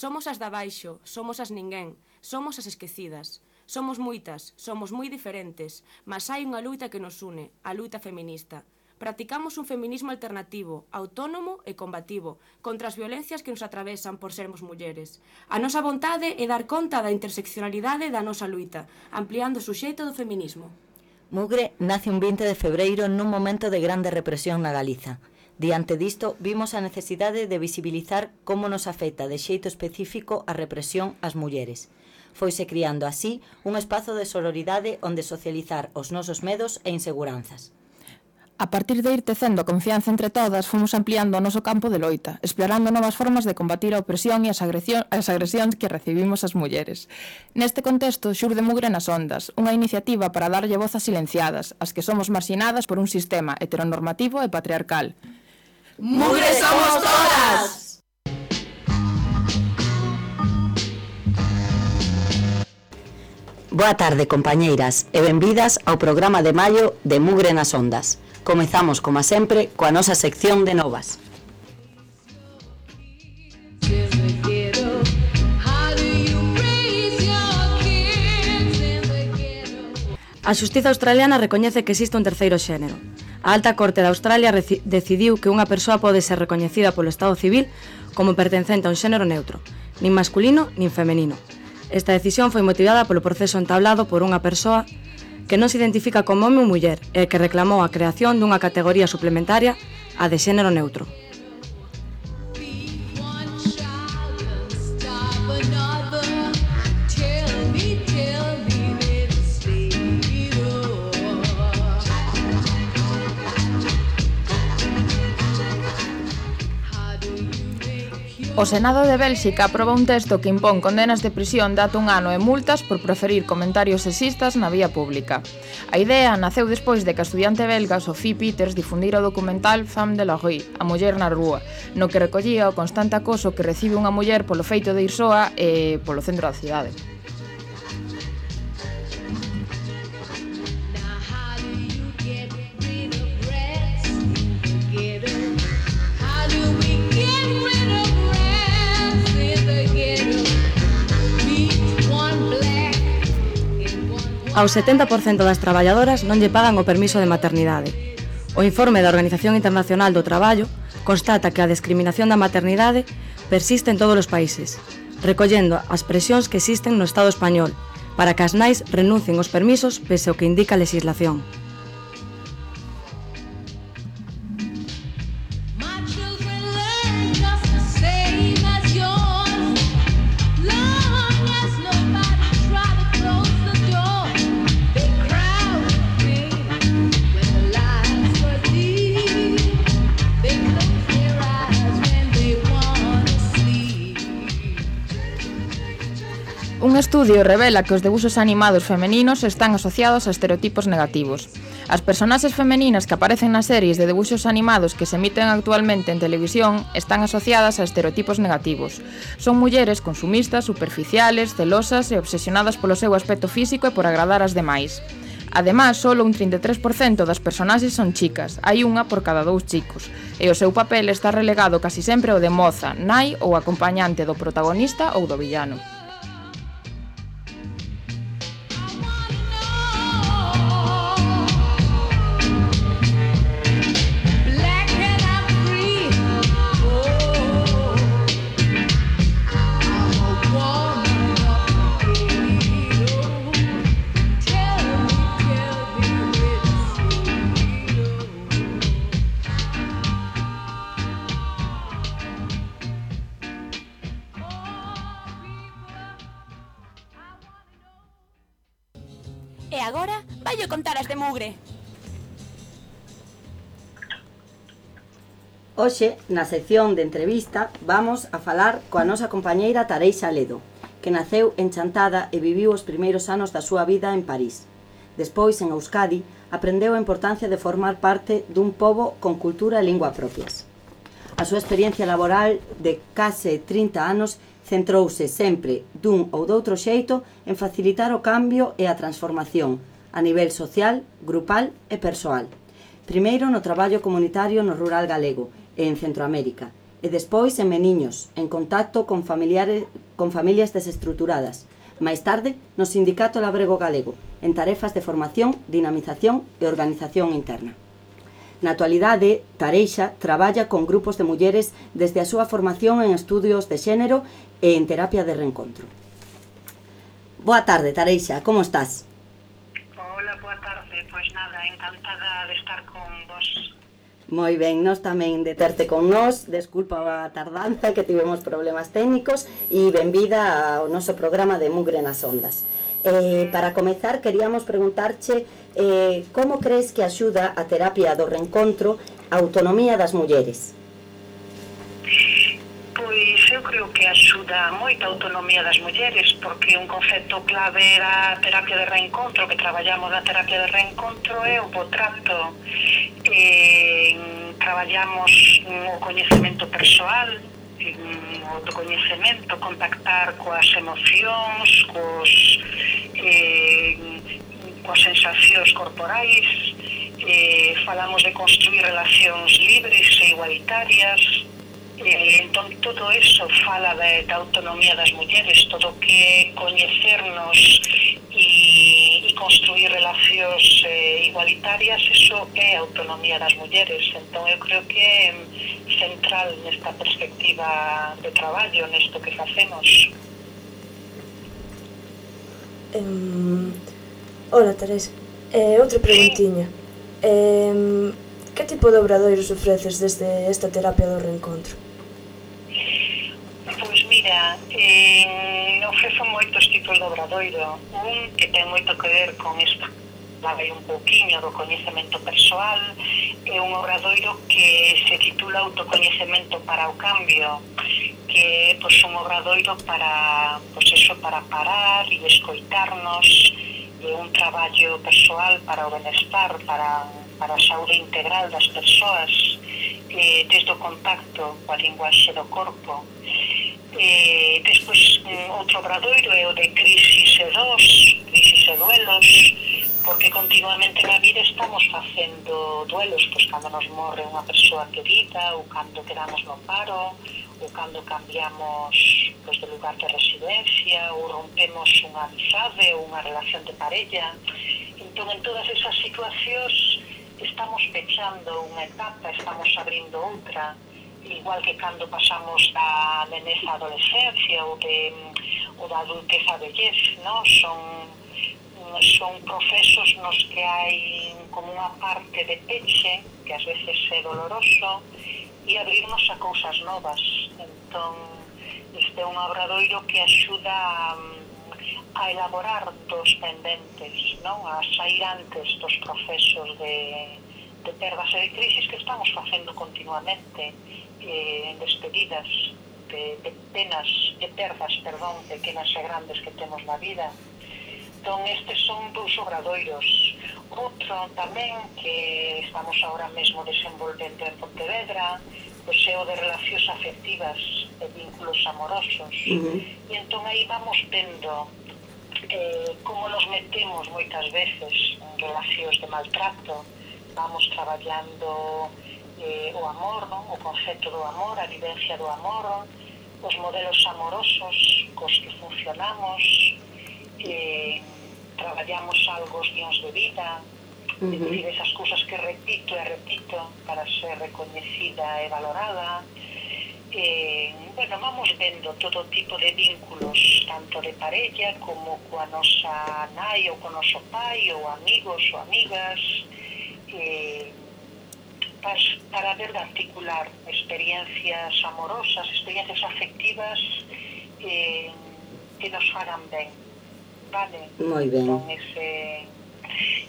Somos as da baixo, somos as ninguén, somos as esquecidas. Somos moitas, somos moi diferentes, mas hai unha luita que nos une, a luita feminista. Practicamos un feminismo alternativo, autónomo e combativo, contra as violencias que nos atravesan por sermos mulleres. A nosa vontade é dar conta da interseccionalidade da nosa luita, ampliando o suxeito do feminismo. Mugre nace un 20 de febreiro nun momento de grande represión na Galiza. Diante disto, vimos a necesidade de visibilizar como nos afecta de xeito específico a represión ás mulleres. Foise criando así un espazo de sororidade onde socializar os nosos medos e inseguranzas. A partir de ir tecendo a confianza entre todas, fomos ampliando o noso campo de loita, explorando novas formas de combatir a opresión e as agresións que recibimos as mulleres. Neste contexto, xurde Mugre nas Ondas, unha iniciativa para darlle voz ás silenciadas, as que somos marxinadas por un sistema heteronormativo e patriarcal. ¡Mugre somos todas! Boa tarde, compañeiras, e benvidas ao programa de maio de Mugre nas Ondas. Comezamos, como sempre, coa nosa sección de novas. A xustiza australiana recoñece que existe un terceiro xénero. A Alta Corte de Australia decidiu que unha persoa pode ser recoñecida polo Estado civil como pertencente a un xénero neutro, nin masculino nin femenino. Esta decisión foi motivada polo proceso entablado por unha persoa que non se identifica como home ou muller e que reclamou a creación dunha categoría suplementaria, a de xénero neutro. O Senado de Bélxica aproba un texto que impón condenas de prisión de ata 1 ano e multas por proferir comentarios sexistas na vía pública. A idea naceu despois de que a estudiante belga Sophie Peters difundira o documental Femme de la rue, a muller na rúa, no que recollía o constante acoso que recibe unha muller polo feito de ir soa e polo centro da cidade. Ao 70% das traballadoras non lle pagan o permiso de maternidade. O informe da Organización Internacional do Traballo constata que a discriminación da maternidade persiste en todos os países, recollendo as presións que existen no Estado español para que as nais renuncien aos permisos pese ao que indica a legislación. Un estudio revela que os debuxos animados femeninos están asociados a estereotipos negativos. As personaxes femeninas que aparecen nas series de debuxos animados que se emiten actualmente en televisión están asociadas a estereotipos negativos. Son mulleres consumistas, superficiales, celosas e obsesionadas polo seu aspecto físico e por agradar ás demais. Ademais, só un 33% das personaxes son chicas, hai unha por cada 2 chicos, e o seu papel está relegado casi sempre ao de moza, nai ou acompañante do protagonista ou do villano. E agora vaio contar as de Mugre. Hoxe, na sección de entrevista, vamos a falar coa nosa compañeira Tareixa Ledo, que naceu en Chantada e viviu os primeiros anos da súa vida en París. Despois, en Euskadi, aprendeu a importancia de formar parte dun pobo con cultura e lingua propias. A súa experiencia laboral de case 30 anos centrouse sempre dun ou doutro xeito en facilitar o cambio e a transformación a nivel social, grupal e persoal. Primeiro no traballo comunitario no rural galego e en Centroamérica, e despois en Meniños, en contacto con familias desestruturadas. Máis tarde, no Sindicato Labrego Galego, en tarefas de formación, dinamización e organización interna. Na actualidade, Tareixa traballa con grupos de mulleres desde a súa formación en estudios de xénero e en terapia de reencontro. Boa tarde, Tareixa, como estás? Hola, boa tarde. Pois nada, encantada de estar con vos. Moi ben, nós tamén de terte con nós. Desculpa a tardanza, que tivemos problemas técnicos, e benvida ao noso programa de Mugre nas Ondas. Para comezar, queríamos preguntarche como crees que axuda a terapia do reencontro a autonomía das mulleres? Pois eu creo que axuda moito a autonomía das mulleres, porque un concepto clave da terapia de reencontro, que traballamos na terapia de reencontro, é o bo trato. Traballamos o coñecemento persoal, o autocoñecemento, contactar coas emocións, coas sensacións corporais, falamos de construir relacións libres e igualitarias. Entón, todo eso fala da autonomía das mulleres, todo que coñecernos e construir relacións igualitarias, eso é a autonomía das mulleres. Entón, eu creo que é central nesta perspectiva de traballo, nesto que facemos. Hola, Teresa. Outra preguntiña. Que tipo de obradoiros ofreces desde esta terapia do reencontro? Pois mira, ofrezo moitos tipos de obradoiro. Un que ten moito que ver con isto, vai un pouquiño do coñecemento persoal, é un obradoiro que se titula Autocoñecemento para o Cambio, que é un obradoiro para parar e escoitarnos, é un traballo persoal para o benestar, para a saúde integral das persoas, desde o contacto coa linguaxe do corpo. Despois, outro obradoiro é o de crisis e duelos, porque continuamente na vida estamos facendo duelos, pois cando nos morre unha persoa querida, ou cando quedamos no paro, ou cando cambiamos de lugar de residencia, ou rompemos unha amizade ou unha relación de parella. Entón, en todas esas situacións estamos pechando unha etapa, estamos abrindo outra, igual que cando pasamos da nenez á adolescencia ou da adultez á vellez, non? Son procesos nos que hai como unha parte de peche, que ás veces é doloroso, e abrirnos a cousas novas. Entón, este é un obradoiro que axuda a elaborar dos pendentes, non? A sair antes dos procesos de perdas e de crisis que estamos facendo continuamente, en despedidas, de penas, de perdas, pequenas e grandes que temos na vida. Entón, estes son dous obradoiros. Outro tamén que estamos ahora mesmo desenvolvendo en Pontevedra, pois é o de relacións afectivas e vínculos amorosos. E entón aí vamos vendo como nos metemos moitas veces en relacións de maltrato. Vamos traballando o amor, non? O concepto do amor, a vivencia do amor, os modelos amorosos cos que funcionamos, traballamos algo os guións de vida, decir, esas cousas que repito e repito para ser recoñecida e valorada. Vamos vendo todo tipo de vínculos, tanto de parella como coa nosa nai ou co noso pai, ou amigos ou amigas, para ver de articular experiencias amorosas, experiencias afectivas que nos fagan ben, vale? Moi ben.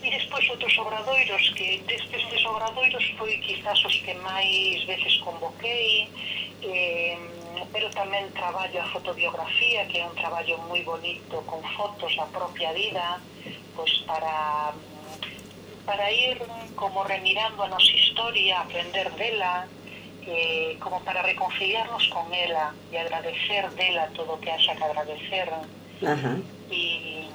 E despois outros obradoiros, que destes obradoiros foi quizás os que máis veces convoquei, pero tamén traballo a fotobiografía, que é un traballo moi bonito con fotos da propia vida, pois para ir como remirando a nosa historia, aprender dela, como para reconciliarnos con ela e agradecer dela todo o que haxa que agradecer. E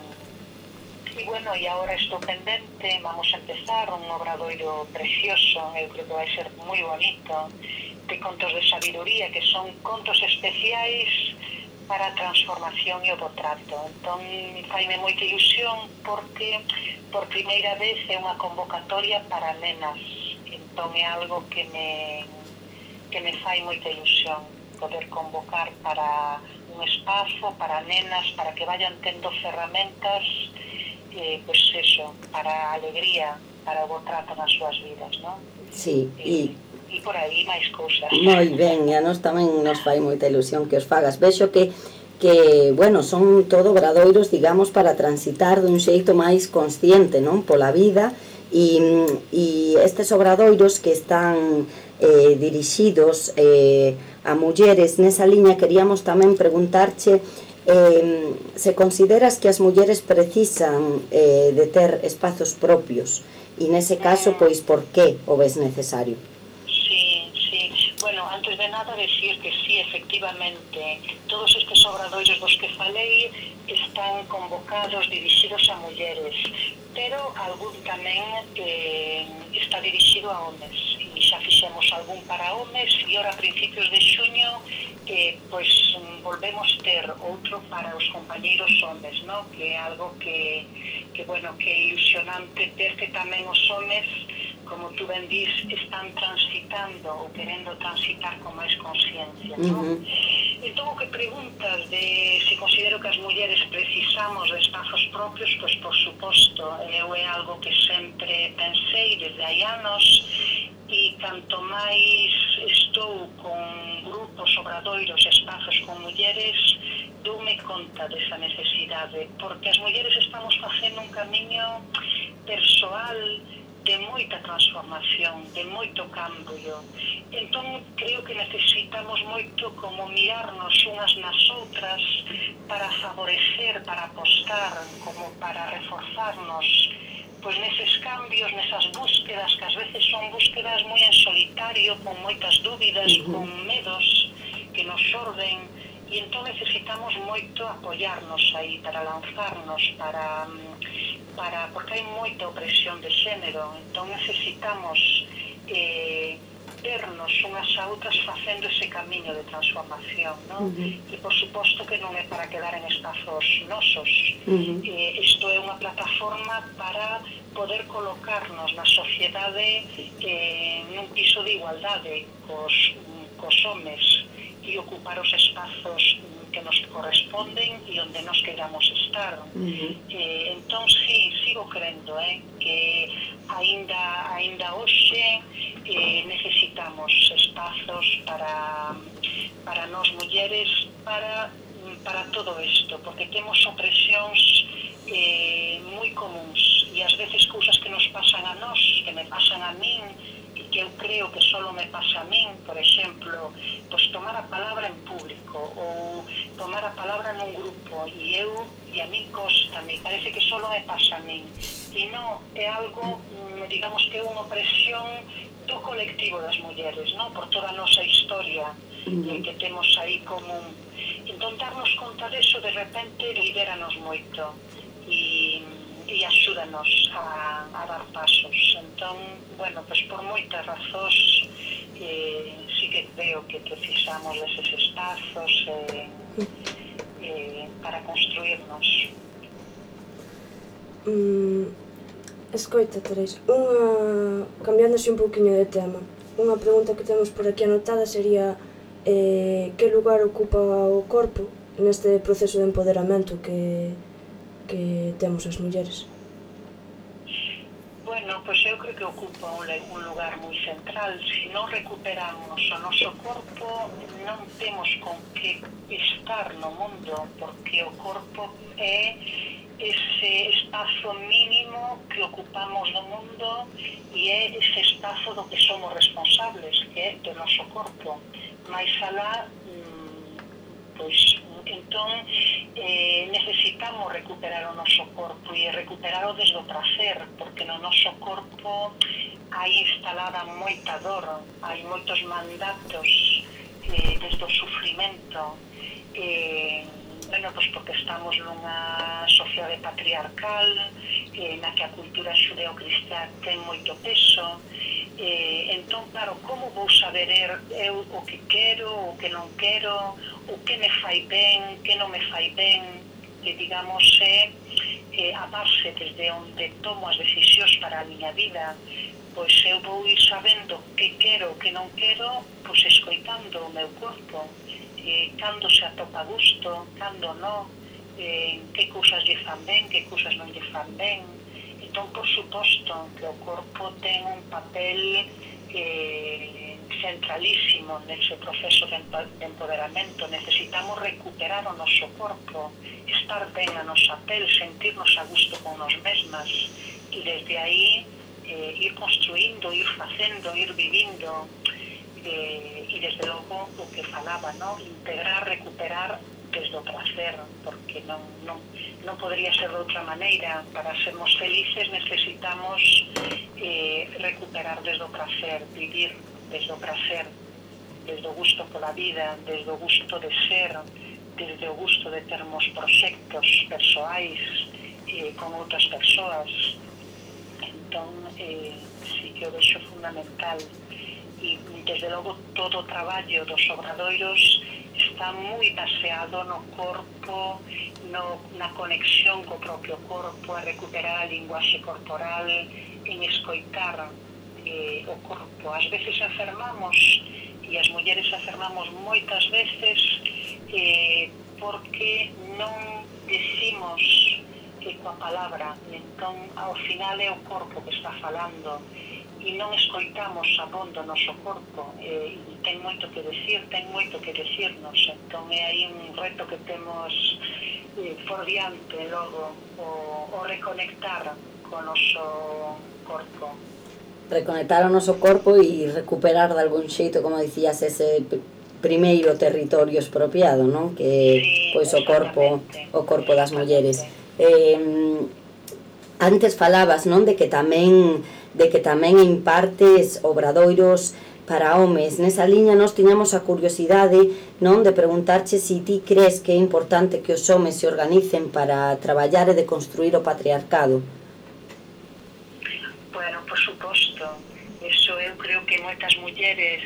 agora estou pendente, vamos a empezar un obradoiro precioso, eu creo que vai ser moi bonito, contos de sabiduría, que son contos especiais para a transformación e o bo trato. Entón, faime moita ilusión porque por primeira vez é unha convocatoria para nenas. Entón, é algo que me fai moita ilusión poder convocar para un espazo, para nenas, para que vayan tendo ferramentas, pois eso, para a alegría, para o bo trato nas súas vidas, non? Sí, E por aí máis cousas. moi ben, e a nos tamén nos fai moita ilusión que os fagas. Vexo que bueno, son todo obradoiros, digamos, para transitar dun xeito máis consciente, non? Pola vida, e estes obradoiros que están dirixidos a mulleres, nesa liña queríamos tamén preguntarche se consideras que as mulleres precisan de ter espazos propios, e nese caso, pois, por que o ves necesario? Bueno, antes de nada decir que sí, efectivamente, todos estes obradoiros dos que falei están convocados, dirixidos a mulleres, pero algún tamén está dirixido a homes, e xa fixemos algún para homes, e ora a principios de xuño pois volvemos ter outro para os compañeiros homes, no? Que é algo que é ilusionante ver que tamén os homes, como tú ben dis, están transitando ou querendo transitar con máis consciencia, non? Entón, o que preguntas de se considero que as mulleres precisamos de espazos propios, pois, por suposto, eu é algo que sempre pensei desde hai anos, e canto máis estou con grupos, obradoiros, espazos con mulleres, doume conta desa necesidade, porque as mulleres estamos facendo un camiño persoal de moita transformación, de moito cambio. Entón, creo que necesitamos moito como mirarnos unhas nas outras para favorecer, para apostar, como para reforzarnos, pois neses cambios, nesas búsquedas, que ás veces son búsquedas moi en solitario, con moitas dúbidas, con medos que nos xorden, e entón necesitamos moito apoiarnos aí, para lanzarnos, porque hai moita opresión de xénero, entón necesitamos vernos unhas a outras facendo ese camiño de transformación, non? E por suposto que non é para quedar en espazos nosos. Isto é unha plataforma para poder colocarnos na sociedade nun piso de igualdade cos homes e ocupar os espazos que nos corresponden e onde nos queramos estar. Entón, sí, sigo crendo que aínda hoxe necesitamos espazos para nós mulleres para todo isto, porque temos opresións moi comuns e ás veces cousas que nos pasan a nós, que me pasan a min, que eu creo que só me pasa a min, por exemplo, pois tomar a palabra en público ou tomar a palabra nun grupo, e a min costa, me parece que só me pasa a min, e non é algo, digamos que é unha opresión do colectivo das mulleres, non? Por toda a nosa historia que temos aí común. Entón, darnos conta deso, de repente, libéranos moito e axúdanos a dar pasos. Entón, bueno, pois por moitas razóns sí que creo que precisamos deses espazos para construirnos. Escoita, Teresa, cambiándose un pouquiño de tema, unha pregunta que temos por aquí anotada sería que lugar ocupa o corpo neste proceso de empoderamento que temos as mulleres? Bueno, pois eu creo que ocupa un lugar moi central. Se non recuperamos o noso corpo, non temos con que estar no mundo, porque o corpo é ese espazo mínimo que ocupamos no mundo e é ese espazo do que somos responsables, que é do noso corpo. Mais alá, pois, entón, necesitamos recuperar o noso corpo e recuperarlo desde o prazer, porque no noso corpo hai instalada moita dor, hai moitos mandatos desde o sufrimento, bueno, pois porque estamos nunha sociedade patriarcal na que a cultura xudeo-cristá ten moito peso, Entón, claro, como vou saber eu o que quero, o que non quero, o que me fai ben, que non me fai ben, que digamos é a base desde onde tomo as decisións para a miña vida. Pois eu vou ir sabendo que quero, que non quero, pois escoitando o meu corpo, cando se atopa a gusto, cando non, que cousas lle fan ben, que cousas non lle fan ben. Entón, por suposto, que o corpo ten un papel centralísimo nese proceso de empoderamento. Necesitamos recuperar o noso corpo, estar ben a nosa pel, sentirnos a gusto con nos mesmas, e desde aí ir construindo, ir facendo, ir vivindo, e desde logo o que falaba, ¿no? Integrar, recuperar desde o placer, porque non podría ser de outra maneira. Para sermos felices necesitamos recuperar desde o placer, vivir desde o placer, desde o gusto pola vida, desde o gusto de ser, desde o gusto de termos proxectos persoais con outras persoas. Entón, sí que o vexo fundamental. E desde logo todo o traballo dos obradoiros está moi baseado no corpo, na conexión co propio corpo, a recuperar a linguaxe corporal, en escoitar o corpo. Ás veces enfermamos, e as mulleres enfermamos moitas veces porque non decimos coa palabra. Entón, ao final é o corpo que está falando, e non escoitamos abondo o noso corpo, e ten moito que decir, ten moito que decirnos. Entón é aí un reto que temos por diante logo, o reconectar co noso corpo. Reconectar o noso corpo e recuperar de algún xeito, como dicías, ese primeiro territorio expropiado, non? Que pois o corpo das mulleres. Antes falabas, non, de que tamén impartes obradoiros para homes. Nesa liña nós tiñamos a curiosidade, non, de preguntarche se ti crees que é importante que os homes se organicen para traballar e deconstruir o patriarcado. Bueno, por suposto. Eso eu creo que moitas mulleres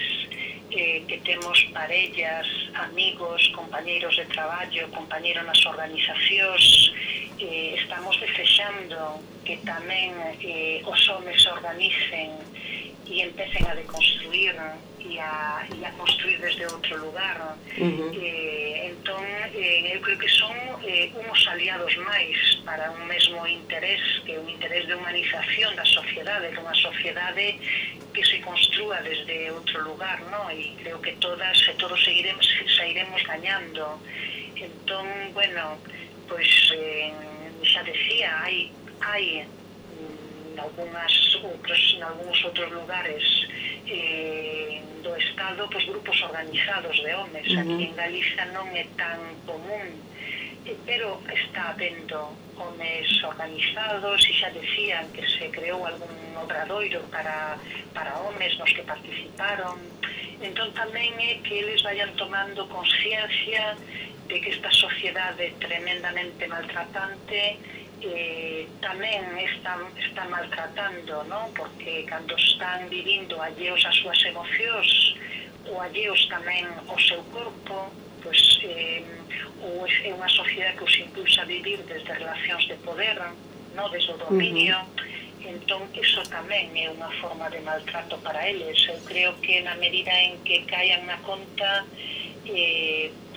que temos parellas, amigos, compañeiros de traballo, compañeiros nas organizacións, estamos desexando que tamén os homes se organicen e empecen a deconstruir e a construir desde outro lugar. Entón, eu creo que son uns aliados máis para un mesmo interés, que é un interés de humanización da sociedade, unha sociedade que se construa desde outro lugar, ¿no? E creo que todas e todos sairemos gañando. Entón, bueno, pois xa decía, hai nalgúns outros lugares do Estado, pois grupos organizados de homes. Aquí en Galiza non é tan común, pero está habendo homes organizados, e xa decían que se creou algún obradoiro para homes nos que participaron. Entón tamén é que eles vayan tomando consciencia de que esta sociedade tremendamente maltratante tamén está maltratando, non? Porque cando están vivindo alleos as súas emocións ou alleos tamén ao seu corpo, pois é unha sociedade que os impulsa a vivir desde relacións de poder, non? Desde o dominio. Entón, iso tamén é unha forma de maltrato para eles. Eu creo que na medida en que caian na conta,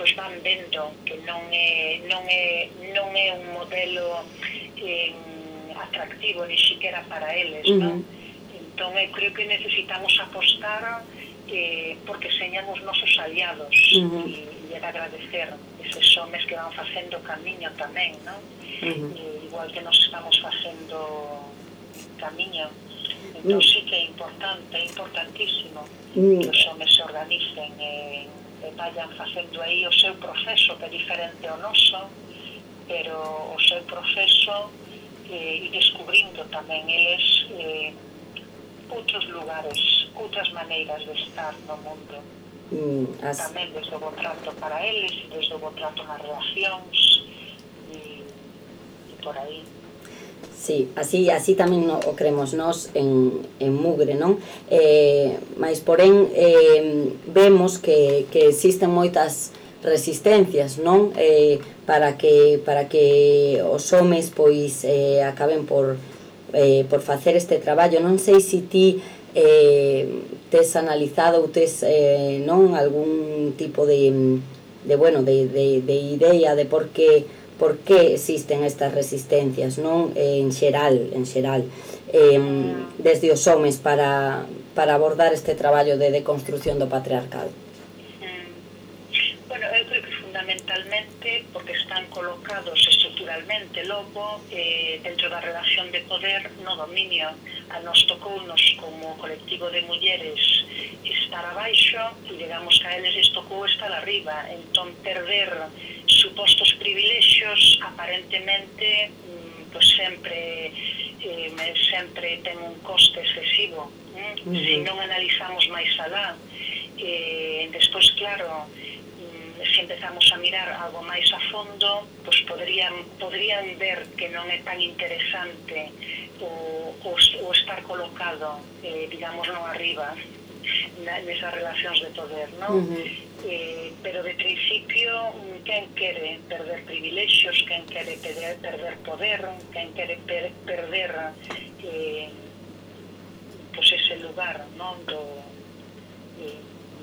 pois van vendo que non é un modelo atractivo ni siquiera para eles, non? Entón, eu creo que necesitamos apostar porque señan os nosos aliados e agradecer eses homes que van facendo camiño tamén, non? Igual que nos estamos facendo camiño. Entón, sí que é importante, é importantísimo que os homes se organicen e vayan facendo aí o seu proceso, que é diferente ao noso, pero o seu proceso e descubrindo tamén eles outros lugares, outras maneiras de estar no mundo. Tamén desde o bo trato para eles e desde o bo trato nas relacións e por aí. Sí, así tamén o cremos nós en Mugre, non? Mais, porén, vemos que existen moitas resistencias, non? Para que os homes, pois, acaben por facer este traballo. Non sei se ti tes analizado ou tes, non, algún tipo de idea de por que existen estas resistencias, non? En xeral, desde os homes para abordar este traballo de deconstrución do patriarcado. Bueno, eu creo que fundamentalmente porque están colocados estructuralmente logo dentro da relación de poder no dominio. A nos tocounos como colectivo de mulleres estar abaixo e digamos que a eles les tocou estar arriba, entón perder supostos privilexios aparentemente pues sempre ten un coste excesivo. Se non analizamos máis alá, despois claro, se empezamos a mirar algo máis a fondo, pues poderían ver que non é tan interesante o estar colocado, digamos, non arriba nesas relacións de poder, non? Pero de principio, quen quere perder privilexios, quen quere perder poder, quen quere perder pues ese lugar, non?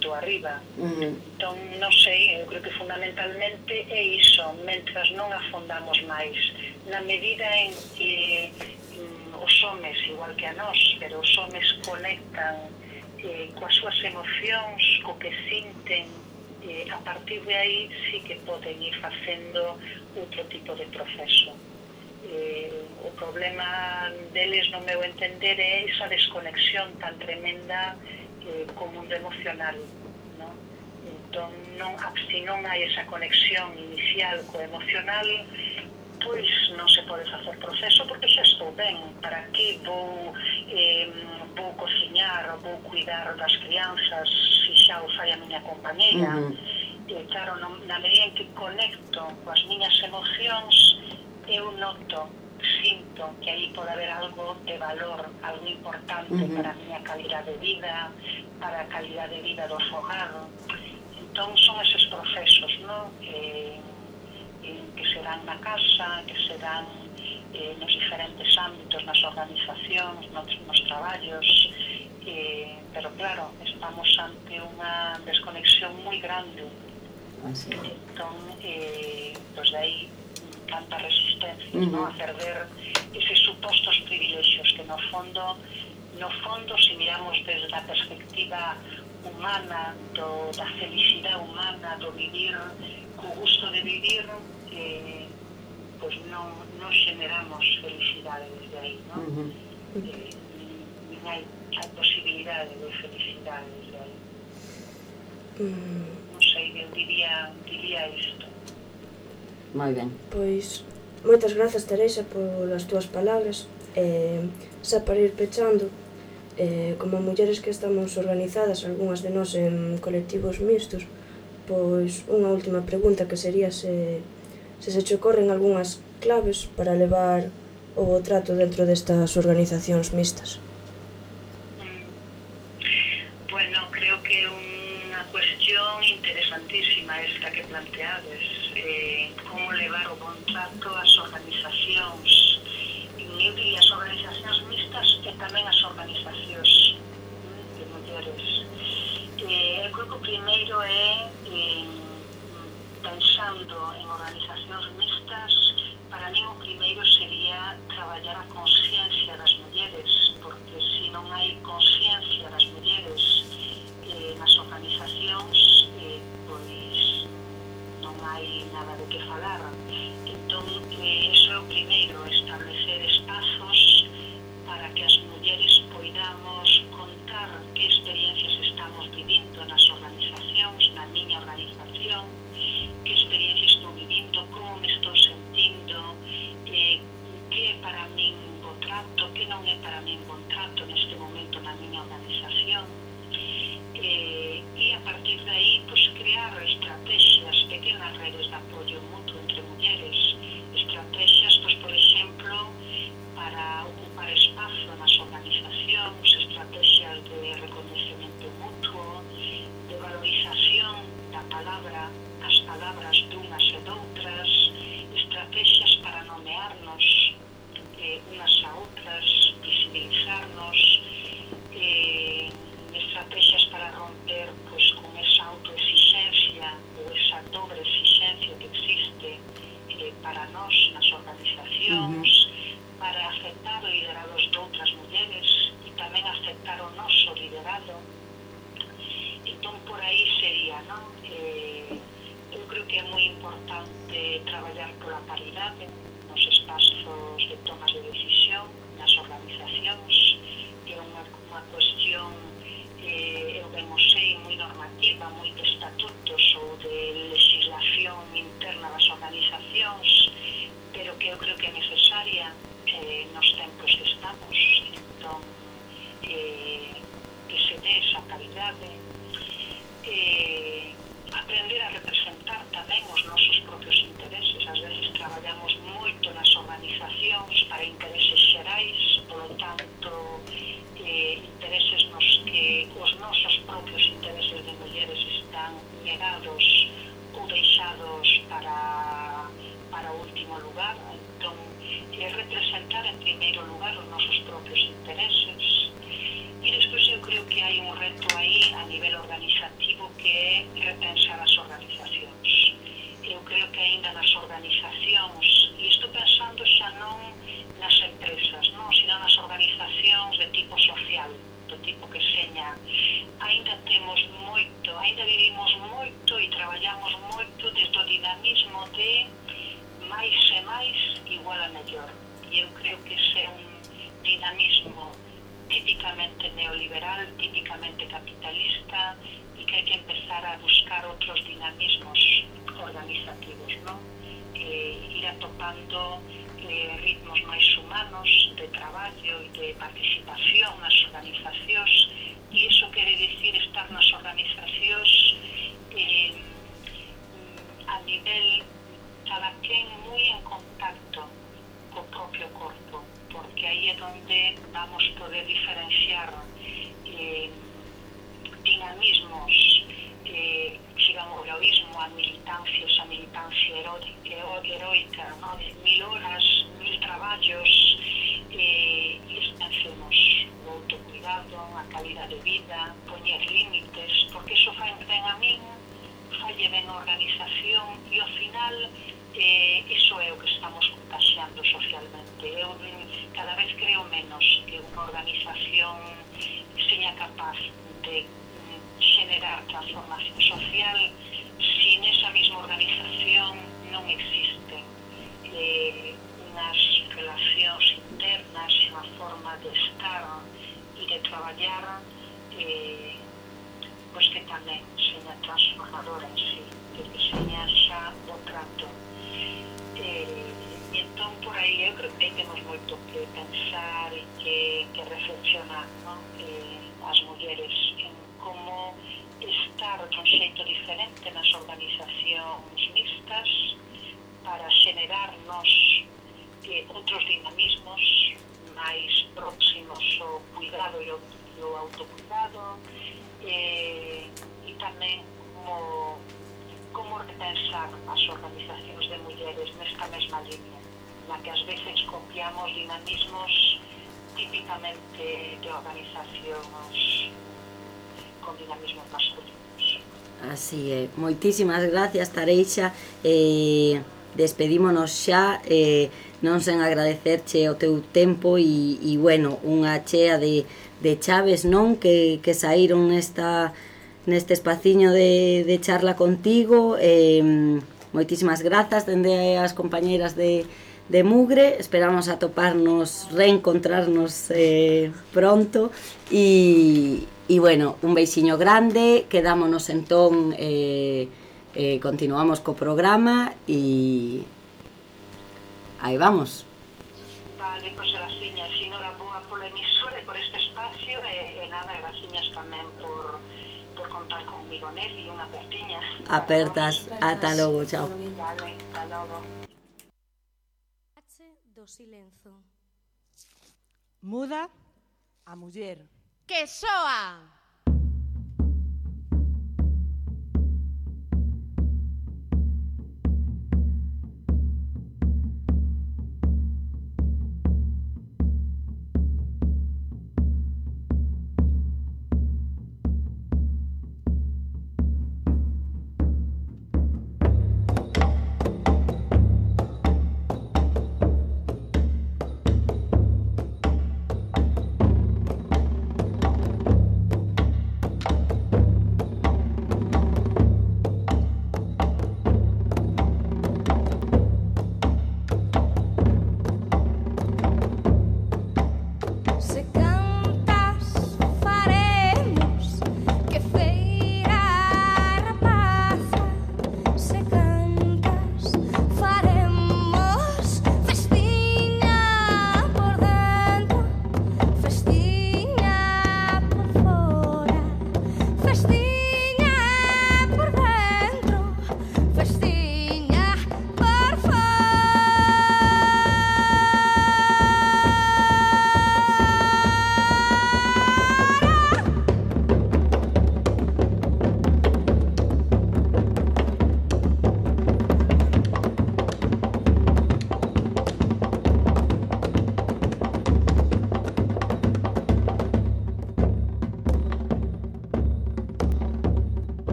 Do arriba. Entón, non sei, eu creo que fundamentalmente é iso, mentras non afondamos máis, na medida en que os homes, igual que a nós, pero os homes conectan coas súas emocións, co que sinten, a partir de aí sí que poden ir facendo outro tipo de proceso. O problema deles, no meu entender, é esa desconexión tan tremenda co mundo emocional, non? Entón, se non hai esa conexión inicial co emocional, pois non se pode facer proceso porque xa estou ben. Para que vou cociñar ou vou cuidar das crianzas se xa o fai a miña compañeira? Claro, na medida en que conecto coas miñas emocións, eu noto, sinto que aí pode haber algo de valor, algo importante para a miña calidad de vida, para a calidad de vida do fogar. Entón son eses procesos, non? Que se dan na casa, que se dan nos diferentes ámbitos, nas organizacións, nos traballos, pero claro, estamos ante unha desconexión moi grande. Entón, pues de aí tantas resistencias, ¿no? A perder eses supostos privilexios que no fondo, se miramos desde a perspectiva humana, da felicidade humana, do vivir, co gusto de vivir, pues non generamos felicidade desde aí, ¿no? Non hai posibilidade de felicidade desde aí. Non sei, eu diría isto. Moi ben. Pois, moitas grazas, Teresa, polas túas palabras. Xa para ir pechando, como mulleres que estamos organizadas, algunhas de nós en colectivos mixtos, pois unha última pregunta que sería se che ocorren algunhas claves para levar o trato dentro destas organizacións mixtas. Bueno, creo que unha cuestión interesantísima esta que planteades, como levar o bon trato ás organizacións, eu diría as organizacións mixtas e tamén as organizacións de mulleres. Eu creo que o primeiro é, pensando en organizacións mixtas, para mí o primeiro sería traballar a consciencia das mulleres, porque se non hai consciencia das mulleres nas organizacións, pois non hai nada de que falar. Entón, iso é o primeiro, establecer espazos para que as mulleres poidamos contar que experiencias estamos vivindo nas organizacións, na miña organización, que experiencias estou vivindo para nós nas organizacións, para aceptar o liderado de outras mulleres e tamén aceptar o noso liderado. Entón, por aí sería, non? Eu creo que é moi importante traballar pola paridade nos espazos de tomas de decisión, nas organizacións. É unha cuestión, eu ben o sei, moi normativa, moi de estatutos ou de legislación interna das organizacións, pero que eu creo que é necesaria nos tempos que estamos. Entón, que se dé esa paridade, aprender a representar tamén os nosos propios intereses. Ás veces traballamos moito nas organizacións para intereses xerais, polo tanto, intereses nos que os nosos propios intereses de mulleres están negados ou deixados para o último lugar. Entón, representar en primeiro lugar os nosos propios intereses. E despois eu creo que hai un reto aí a nivel organizativo que é repensar as organizacións. Eu creo que aínda nas organizacións, e estou pensando xa non nas empresas, non, sino nas organizacións de tipo social, do tipo que seña, aínda temos moito, aínda vivimos moito e traballamos moito desde o dinamismo de máis e máis igual a mellor. E eu creo que ese é un dinamismo típicamente neoliberal, típicamente capitalista, e que hai que empezar a buscar outros dinamismos organizativos, non? Ir atopando ritmos máis humanos de traballo e de participación nas organizacións, e iso quere dicir estar nas organizacións a nivel cada quen moi en contacto co propio corpo, porque aí é onde vamos poder diferenciar dinamismos, digamos, o heroísmo, a militancia, esa militancia heroica, ¿no? De 1000 horas, 1000 traballos, e pensemos o autocuidado, a calidad de vida, poñer límites, porque iso fai ben a min, falle ben a organización, e ao final iso é o que estamos contaxiando socialmente. Eu cada vez creo menos que unha organización seña capaz de generar transformación social si nesa mesma organización non existen unhas relacións internas, unha forma de estar e de traballar pois que tamén seña transformadora en sí, que seña xa o trato. E entón, por aí, eu creo que temos moito que pensar e que reflexionar, non? As mulleres en como estar dun xeito diferente nas organizacións mixtas para xenerarnos outros dinamismos máis próximos ao cuidado e ao autocuidado, e tamén como repensar as organizacións de mulleres nesta mesma línea, na que ás veces copiamos dinamismos típicamente de organizacións con dinamismos masculinos. Así é. Moitísimas gracias, Tareixa. Despedímonos xa, non sen agradecerche o teu tempo e bueno, unha chea de chaves, non, que saíron neste espaciño de charla contigo. Moitísimas grazas dende as compañeiras de Mugre. Esperamos atoparnos, reencontrarnos pronto e bueno, un beixiño grande. Quedámonos entón, continuamos co programa e aí vamos. Vale, pois graciñas, enhoraboa pola emisora e por este espacio, e nada, graciñas tamén por contar comigo nel e unha apertiña. Apertas, ata logo, chao. Vale, ata logo. Do silenzo. Muda a muller. Que soa!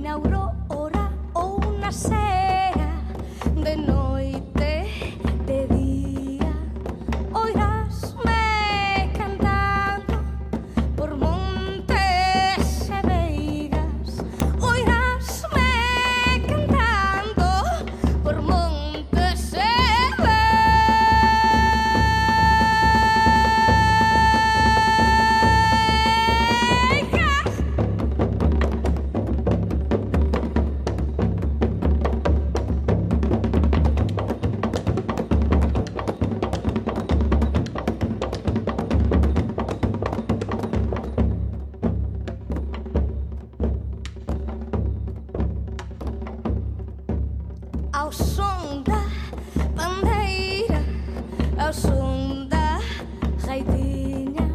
na aurora ou na sea, de noite, de día, oirásme cantando por montes e veigas, oirásme cantando por montes e ao som da bandeira, ao som da gaitiña,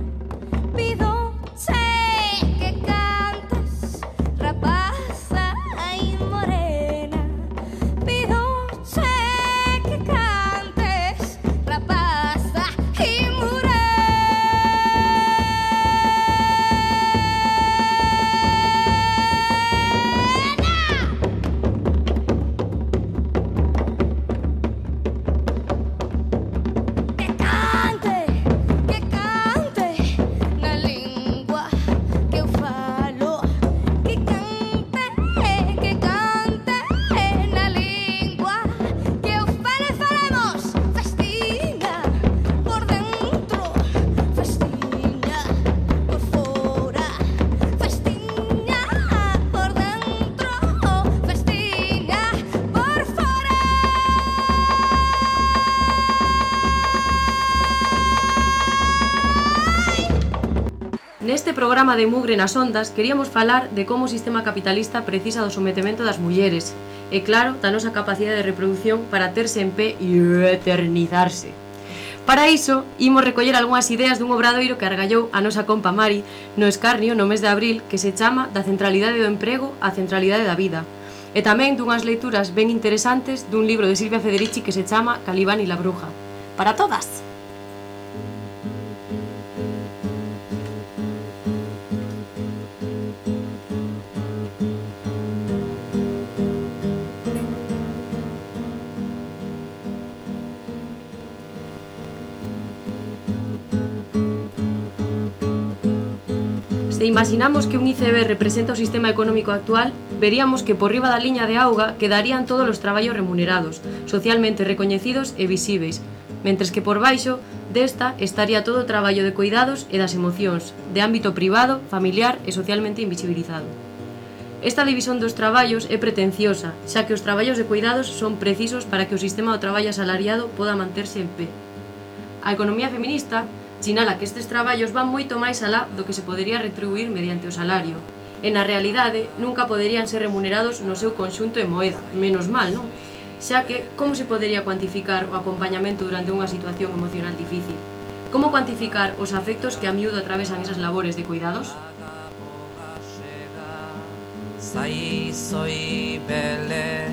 pido-che que cantes, rapaza e morena, pido-che que cantes, rapaza e morena. Que cante na lingua que eu falo, que cante na lingua que eu falo e faremos festinha por dentro, festinha por fora, festinha por dentro, festinha por fora. Neste programa de Mugre nas Ondas queríamos falar de como o sistema capitalista precisa do sometemento das mulleres e, claro, da nosa capacidade de reproducción para terse en pé e eternizarse. Para iso, imos recoller algunhas ideas dun obradoiro que argallou a nosa compa Mari no Escarnio no mes de abril, que se chama Da centralidade do emprego á centralidade da vida, e tamén dunhas leituras ben interesantes dun libro de Silvia Federici que se chama Calibán y la bruja. Para todas! Se imaginamos que un ICB representa o sistema económico actual, veríamos que por riba da liña de auga quedarían todos os traballos remunerados, socialmente recoñecidos e visíveis, mentres que por baixo desta estaría todo o traballo de cuidados e das emocións, de ámbito privado, familiar e socialmente invisibilizado. Esta división dos traballos é pretenciosa, xa que os traballos de cuidados son precisos para que o sistema do traballo asalariado poda manterse en pé. A economía feminista sinala que estes traballos van moito máis alá do que se podería retribuir mediante o salario, e na realidade nunca poderían ser remunerados no seu conxunto en moeda, menos mal, non? Xa que, como se podería cuantificar o acompañamento durante unha situación emocional difícil? Como cuantificar os afectos que a miúdo atravesan esas labores de cuidados? Zaizoi bele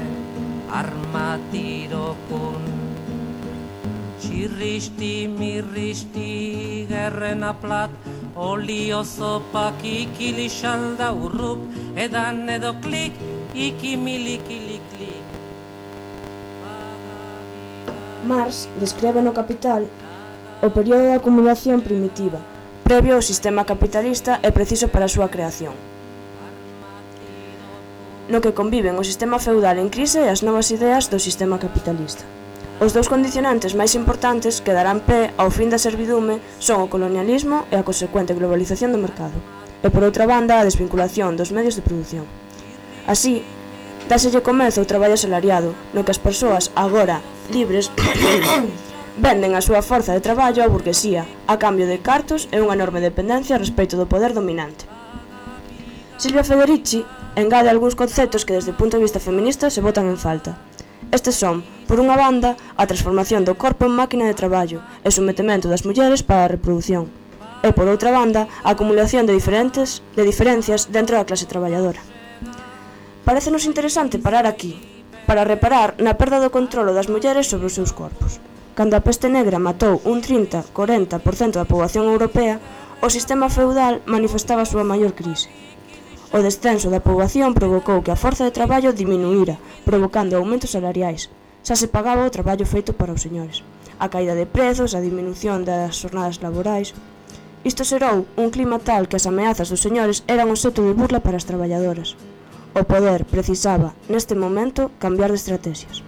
armatirokun Txirristi, mirristi, gerrena plat, olio zopak ikilixalda urrup, edan edo klik, ikimilikili-klik. Marx describe no Capital o período de acumulación primitiva, previo ao sistema capitalista e preciso para a súa creación, no que conviven o sistema feudal en crise e as novas ideas do sistema capitalista. Os dous condicionantes máis importantes que darán pé ao fin da servidume son o colonialismo e a consecuente globalización do mercado, e por outra banda a desvinculación dos medios de produción. Así, dáselle comezo ao traballo asalariado, no que as persoas, agora libres, venden a súa forza de traballo á burguesía, a cambio de cartos e unha enorme dependencia respecto do poder dominante. Silvia Federici engade algúns conceptos que desde o punto de vista feminista se botan en falta. Estes son, por unha banda, a transformación do corpo en máquina de traballo e sometemento das mulleres para a reprodución, e por outra banda, a acumulación de diferencias dentro da clase traballadora. Parécenos interesante parar aquí, para reparar na perda do controlo das mulleres sobre os seus corpos. Cando a peste negra matou un 30-40% da poboación europea, o sistema feudal manifestaba a súa maior crise. O descenso da poboación provocou que a forza de traballo diminuíra, provocando aumentos salariais. Xa se pagaba o traballo feito para os señores. A caída de prezos, a diminución das xornadas laborais. Isto xerou un clima tal que as ameazas dos señores eran obxecto de burla para as traballadoras. O poder precisaba, neste momento, cambiar de estrategias.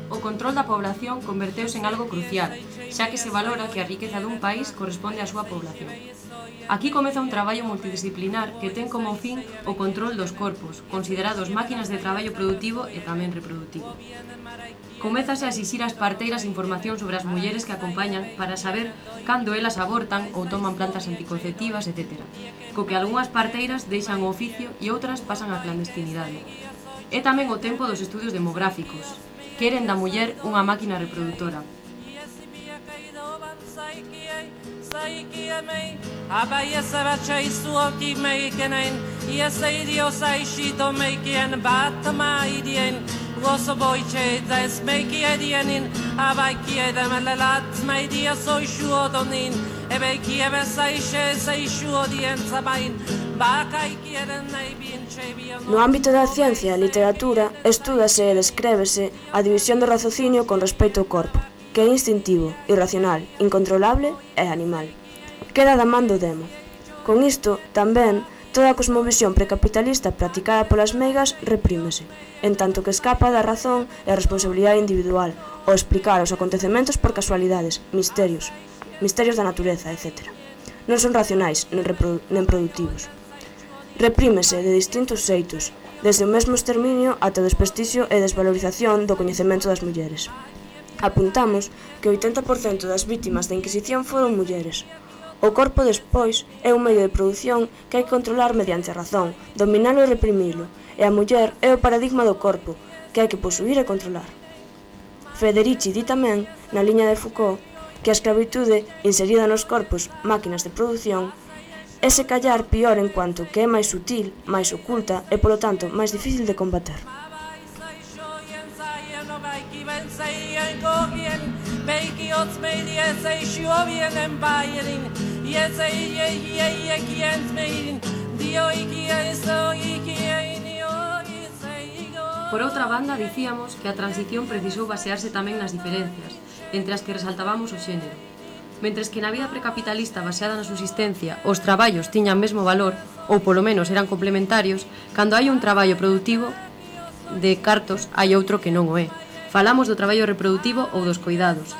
O control da población converteuse en algo crucial, xa que se valora que a riqueza dun país corresponde á súa población. Aquí comeza un traballo multidisciplinar que ten como fin o control dos corpos, considerados máquinas de traballo productivo e tamén reproductivo. Comézase a exixir ás parteiras información sobre as mulleres que acompañan para saber cando elas abortan ou toman plantas anticonceptivas, etc. Co que algunhas parteiras deixan o oficio e outras pasan á clandestinidade. É tamén o tempo dos estudios demográficos. Queren da muller unha máquina reproductora. No ámbito da ciencia e literatura, estúdase e descrébese a división do raciocinio con respecto ao corpo, que é instintivo, irracional, incontrolable e animal. Queda da man do demo. Con isto, tamén, toda a cosmovisión precapitalista practicada polas meigas reprímese, en tanto que escapa da razón e a responsabilidade individual, ao explicar os acontecementos por casualidades, misterios da natureza, etc. Non son racionais nen produtivos. Reprímese de distintos xeitos, desde o mesmo exterminio ata o desprestixio e desvalorización do coñecemento das mulleres. Apuntamos que o 80% das vítimas da Inquisición foron mulleres. O corpo, despois, é un medio de produción que hai que controlar mediante a razón, dominalo e reprimilo, e a muller é o paradigma do corpo, que hai que posuir e controlar. Federici di tamén, na liña de Foucault, que a escravitude, inserida nos corpos, máquinas de produción, é se callar pior en cuanto que é máis sutil, máis oculta e, polo tanto, máis difícil de combater. Por outra banda, dicíamos que a transición precisou basearse tamén nas diferencias, entre as que resaltábamos o xénero. Mentres que na vida precapitalista baseada na subsistencia os traballos tiñan mesmo valor, ou polo menos eran complementarios, cando hai un traballo productivo de cartos hai outro que non o é. Falamos do traballo reproductivo ou dos coidados.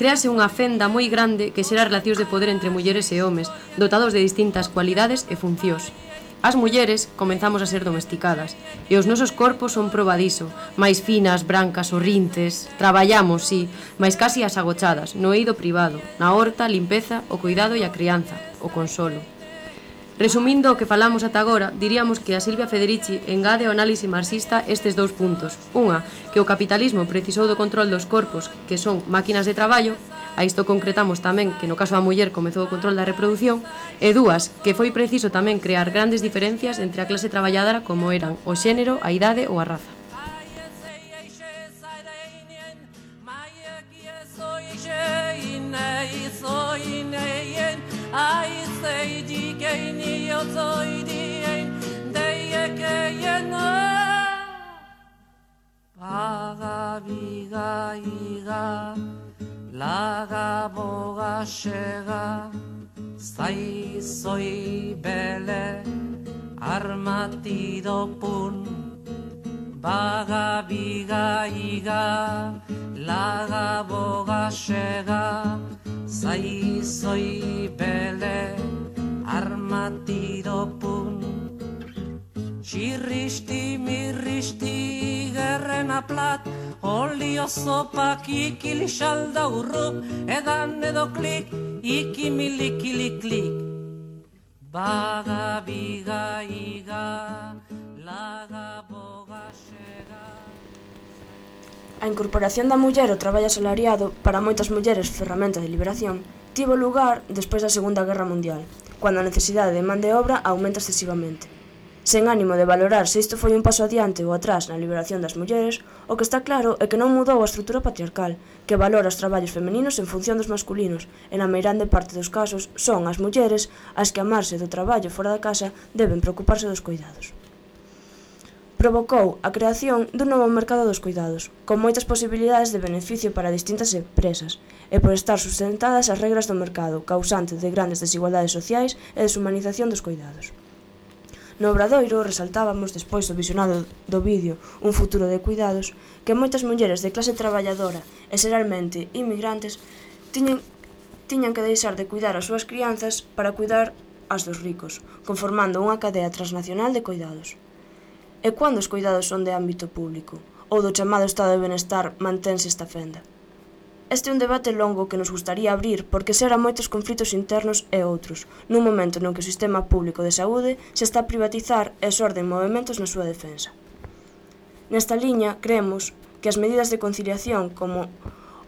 Créase unha fenda moi grande que xera relacións de poder entre mulleres e homes, dotados de distintas cualidades e funcións. As mulleres comenzamos a ser domesticadas e os nosos corpos son probadiso, máis finas, brancas, orrintes. Traballamos, sí, máis casi as agochadas, no eido privado, na horta, a limpeza, o cuidado e a crianza, o consolo. Resumindo o que falamos ata agora, diríamos que a Silvia Federici engade ao análise marxista estes dous puntos. Unha, que o capitalismo precisou do control dos corpos, que son máquinas de traballo. A isto concretamos tamén que no caso da muller comezou o control da reproducción, e dúas, que foi preciso tamén crear grandes diferencias entre a clase traballadora como eran o xénero, a idade ou a raza. Laga boga xega, zaizoi bele, armatido pun. Baga biga iga, laga boga xega, zaizoi bele, armatido pun. Xirristi mirristi gerrena plat, olio zopak ikili xalda urrup, edan edo klik, ikimilikili klik. Baga biga iga, laga boga xega. A incorporación da muller ao traballo asalariado, para moitas mulleres ferramenta de liberación, tivo lugar despois da Segunda Guerra Mundial, cando a necesidade de man de obra aumenta excesivamente. Sen ánimo de valorar se isto foi un paso adiante ou atrás na liberación das mulleres, o que está claro é que non mudou a estrutura patriarcal, que valora os traballos femeninos en función dos masculinos, e na meirande parte dos casos son as mulleres as que, a marxe do traballo fora da casa, deben preocuparse dos cuidados. Provocou a creación dun novo mercado dos cuidados, con moitas posibilidades de beneficio para distintas empresas, e por estar sustentadas as regras do mercado, causante de grandes desigualdades sociais e deshumanización dos cuidados. No Obradoiro resaltábamos, despois do visionado do vídeo Un futuro de cuidados, que moitas mulleres de clase traballadora e xeralmente inmigrantes tiñan que deixar de cuidar as súas crianzas para cuidar as dos ricos, conformando unha cadea transnacional de cuidados. E cando os cuidados son de ámbito público, ou do chamado estado de benestar mantense esta fenda? Este é un debate longo que nos gustaría abrir porque xera moitos conflitos internos e outros, nun momento no que o sistema público de saúde se está a privatizar e xorden movementos na súa defensa. Nesta liña, creemos que as medidas de conciliación, como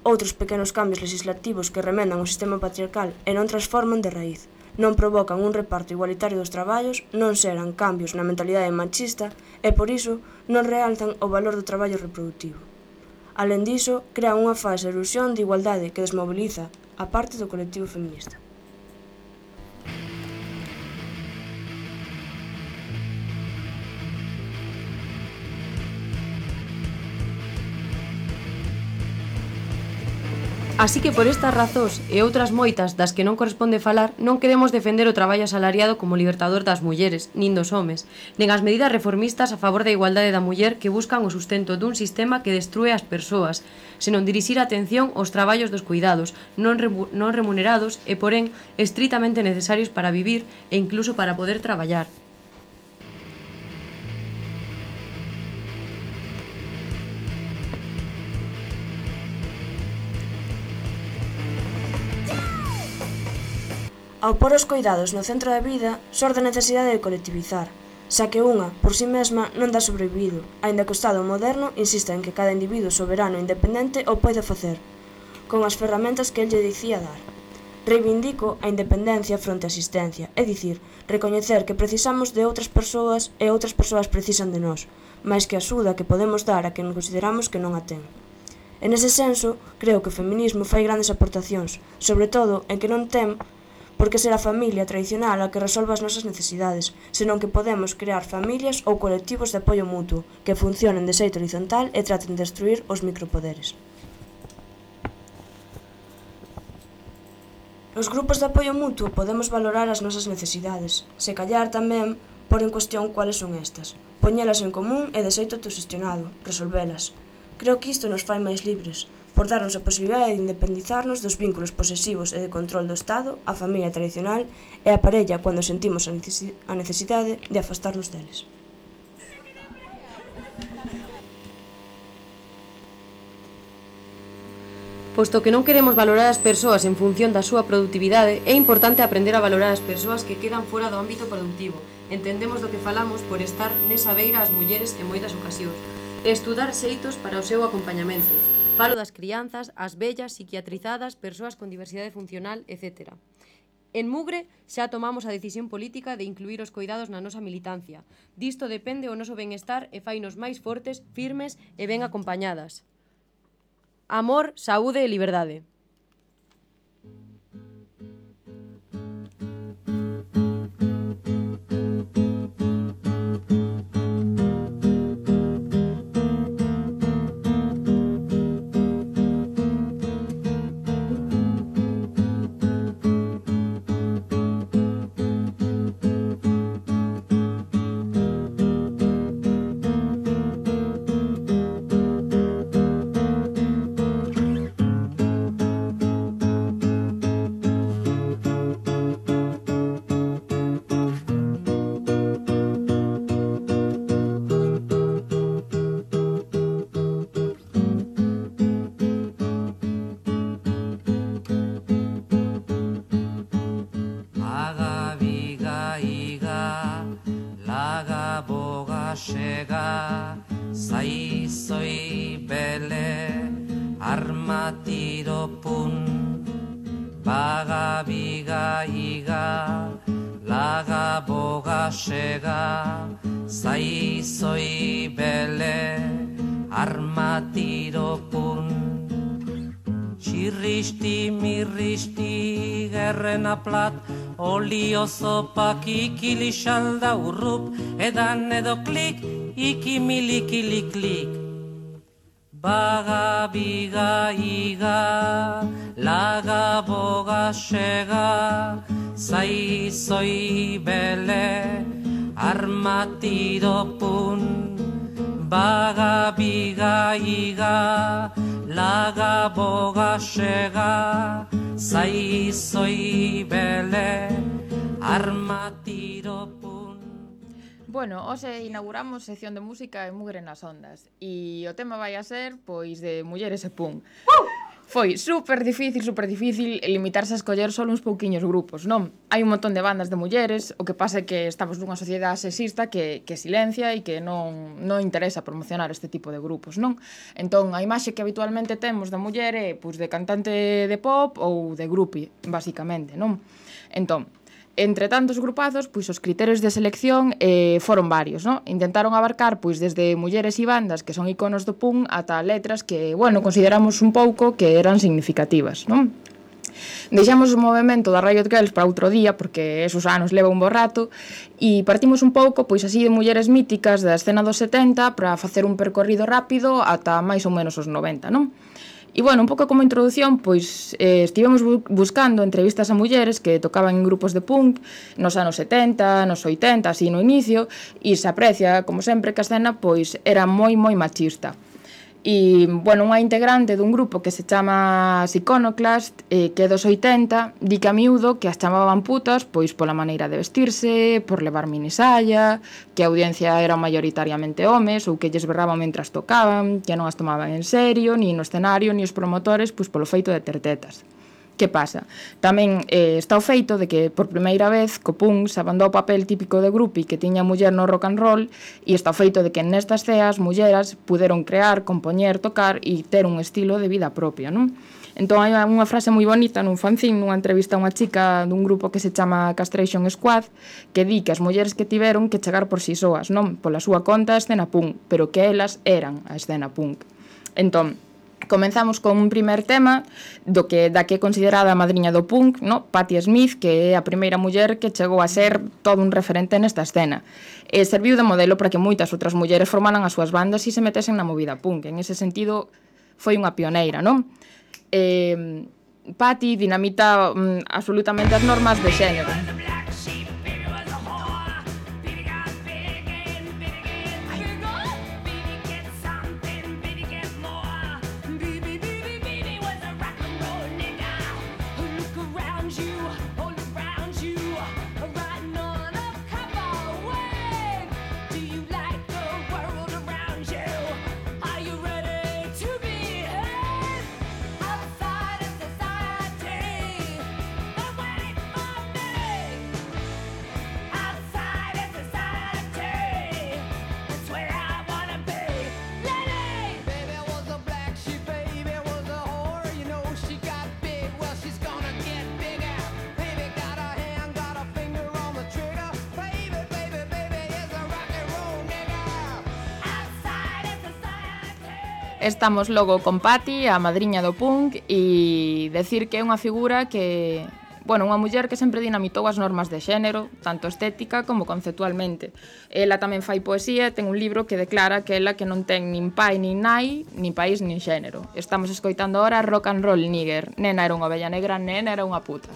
outros pequenos cambios legislativos que remendan o sistema patriarcal e non transforman de raíz, non provocan un reparto igualitario dos traballos, non xeran cambios na mentalidade machista e, por iso, non realzan o valor do traballo reproductivo. Alén diso, crea unha falsa ilusión de igualdade que desmoviliza a parte do colectivo feminista. Así que por estas razóns e outras moitas das que non corresponde falar, non queremos defender o traballo asalariado como libertador das mulleres, nin dos homes, nen as medidas reformistas a favor da igualdade da muller que buscan o sustento dun sistema que destrúe as persoas, senón dirixir a atención aos traballos dos cuidados, non remunerados e, porén, estritamente necesarios para vivir e incluso para poder traballar. Ao pôr os coidados no centro da vida, xorde a necesidade de colectivizar, xa que unha, por si mesma, non dá sobrevivido, aínda que o Estado moderno insista en que cada individuo soberano e independente o pode facer, con as ferramentas que el lle dicía dar. Reivindico a independencia fronte á asistencia, é dicir, recoñecer que precisamos de outras persoas e outras persoas precisan de nós, máis que a axuda que podemos dar a quen consideramos que non a ten. En ese senso, creo que o feminismo fai grandes aportacións, sobre todo en que non ten porque ser a familia tradicional a que resolve as nosas necesidades, senón que podemos crear familias ou colectivos de apoio mutuo que funcionen de xeito horizontal e traten de destruir os micropoderes. Nos grupos de apoio mutuo podemos valorar as nosas necesidades, se callar tamén por en cuestión cuáles son estas, poñelas en común e de xeito autoxestionado, resolvelas. Creo que isto nos fai máis libres, por darnos a posibilidade de independizarnos dos vínculos posesivos e de control do Estado, a familia tradicional e a parella cando sentimos a necesidade de afastarnos deles. Posto que non queremos valorar as persoas en función da súa produtividade, é importante aprender a valorar as persoas que quedan fora do ámbito productivo. Entendemos do que falamos por estar nesa beira as mulleres en moitas ocasións, e estudar xeitos para o seu acompañamento. Falo das crianzas, as vellas, psiquiatrizadas, persoas con diversidade funcional, etc. En Mugre xa tomamos a decisión política de incluir os coidados na nosa militancia. Disto depende o noso benestar e fainos máis fortes, firmes e ben acompañadas. Amor, saúde e liberdade. Chega, sai, soy, bele, arma tiro pun, baga biga iga, laga boga sega, zai zoi bele, arma tiro pun. Txirristi mirristi gerrena plat, olio zopak ikili xalda urrup, edan edo klik, ikimilikili klik. Baga biga iga, laga boga sega, zai zoi bele, arma tiro pun. Baga biga iga, laga boga sega, zai zoi bele, arma tiro pun. Bueno, hoxe inauguramos sección de música e Mugre nas ondas e o tema vai a ser, pois, de mulleres e punk. Foi super difícil limitarse a escoller só uns pouquiños grupos, non? Hai un montón de bandas de mulleres, o que pasa é que estamos nunha sociedade sexista que silencia e que non interesa promocionar este tipo de grupos, non? Entón, a imaxe que habitualmente temos da muller é, pois, de cantante de pop ou de groupie, basicamente, non? Entón, entre tantos grupazos, pois os criterios de selección foron varios, non? Intentaron abarcar pois desde mulleres e bandas que son iconos do punk ata letras que, bueno, consideramos un pouco que eran significativas, non? Deixamos o movemento da Riot Girls para outro día, porque esos anos leva un bo rato, e partimos un pouco, pois así, de mulleres míticas da escena dos 70 para facer un percorrido rápido ata máis ou menos os 90, non? E, bueno, un pouco como introducción, pois estivemos buscando entrevistas a mulleres que tocaban en grupos de punk nos anos 70, nos 80, así no inicio, e se aprecia, como sempre, que a escena pois era moi machista. E, bueno, unha integrante dun grupo que se chama Iconoclast, que é dos 80, di que a miúdo que as chamaban putas pois pola maneira de vestirse, por levar minisalla, que a audiencia era maioritariamente homes ou que lles berraban mentras tocaban, que non as tomaban en serio, ni no escenario, ni os promotores, pois polo feito de ter tetas. Que pasa? Tamén está o feito de que por primeira vez co punk se abandou o papel típico de groupie que tiña a muller no rock and roll, e está o feito de que nestas ceas mulleras puderon crear, compoñer, tocar e ter un estilo de vida propia, non? Entón hai unha frase moi bonita nun fanzine, nunha entrevista a unha chica dun grupo que se chama Castration Squad, que di que as mulleres que tiveron que chegar por si soas, non? Pola súa conta a escena punk, pero que elas eran a escena punk. Entón, comenzamos con un primer tema da que é considerada a madriña do punk, no? Patti Smith, que é a primeira muller que chegou a ser todo un referente nesta escena. Serviu de modelo para que moitas outras mulleres formaran as súas bandas e se metesen na movida punk. En ese sentido, foi unha pioneira, non? Patti dinamita absolutamente as normas de xénero. Estamos logo con Patti, a madriña do punk, e decir que é unha figura que, bueno, unha muller que sempre dinamitou as normas de xénero, tanto estética como conceptualmente. Ela tamén fai poesía, ten un libro que declara que ela que non ten nin pai nin nai, nin país nin xénero. Estamos escoitando ahora Rock and Roll Nigger. Nena era unha ovella negra, nena era unha puta.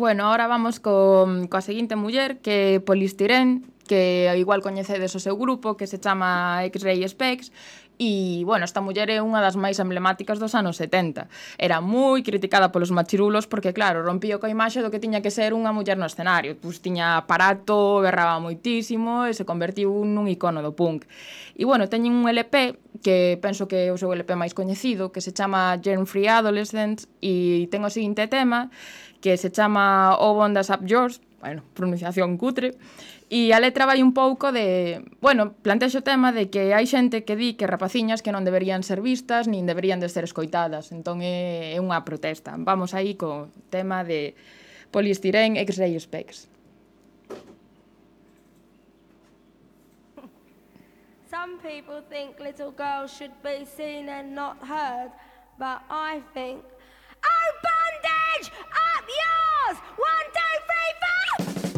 Bueno, ahora vamos coa seguinte muller, que é Polistirén, que igual coñecedes o seu grupo, que se chama X-Ray Specs, e, bueno, esta muller é unha das máis emblemáticas dos anos 70. Era moi criticada polos machirulos porque, claro, rompía coa imaxe do que tiña que ser unha muller no escenario. Pois tiña aparato, berraba moitísimo e se convertiu nun icono do punk. E, bueno, teñen un LP que penso que é o seu LP máis coñecido, que se chama Germ Free Adolescents, e ten o seguinte tema, que se chama O Bondas Up Yours, bueno, pronunciación cutre, e a letra vai un pouco de... Bueno, plantexo o tema de que hai xente que di que rapaciñas que non deberían ser vistas nin deberían de ser escoitadas, entón é unha protesta. Vamos aí co tema de Polistirén X-Ray Specs. Some people think little girls should be seen and not heard, but I think, oh, bondage, up yours! 1, 2, 3, 4!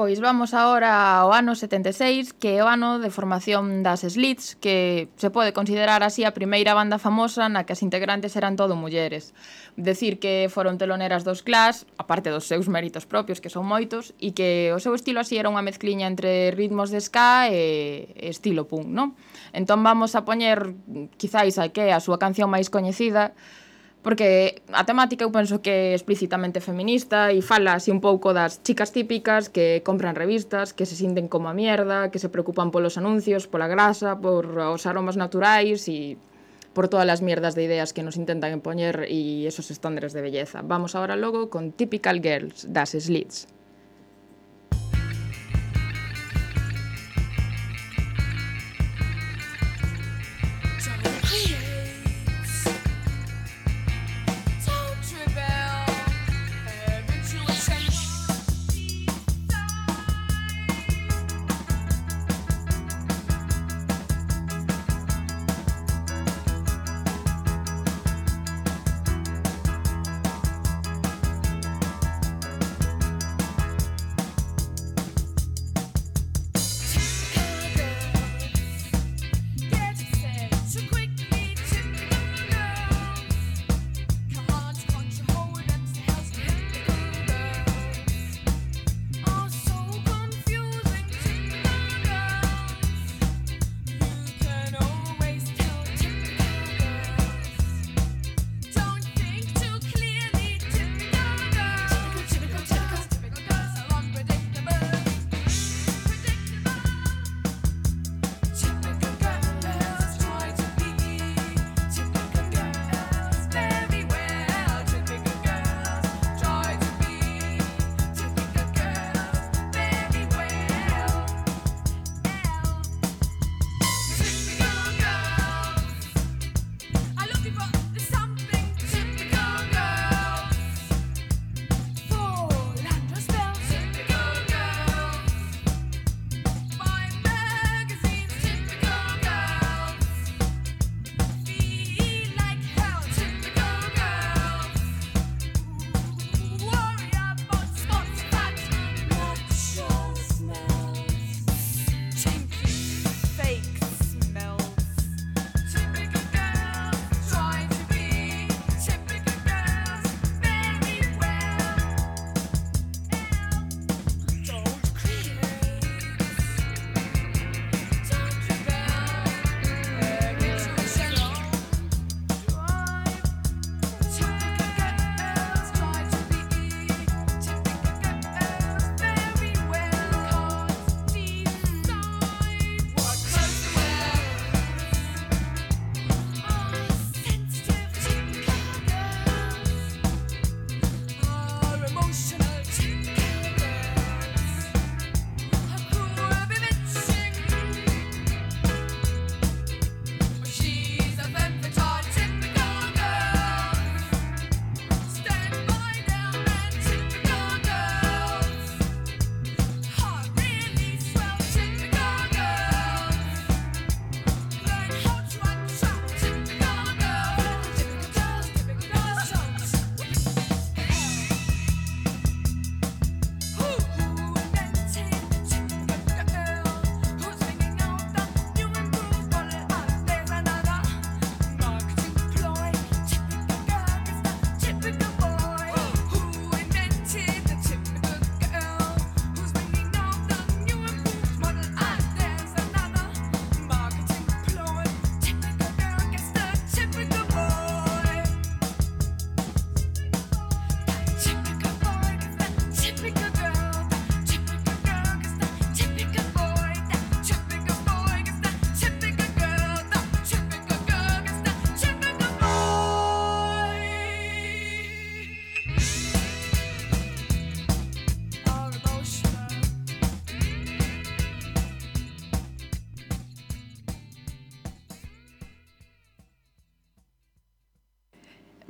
Pois vamos agora ao ano 76, que é o ano de formación das Slits, que se pode considerar así a primeira banda famosa na que as integrantes eran todo mulleres. Decir que foron teloneras dos Clash, aparte dos seus méritos propios, que son moitos, e que o seu estilo así era unha mezcliña entre ritmos de ska e estilo punk, non? Entón vamos a poñer, quizáis, que é a súa canción máis coñecida, porque a temática eu penso que é explícitamente feminista e fala así un pouco das chicas típicas que compran revistas, que se sinten como a mierda, que se preocupan polos anuncios, pola grasa, por os aromas naturais e por todas as mierdas de ideas que nos intentan impoñer e esos estándares de belleza. Vamos agora logo con Typical Girls das Slits.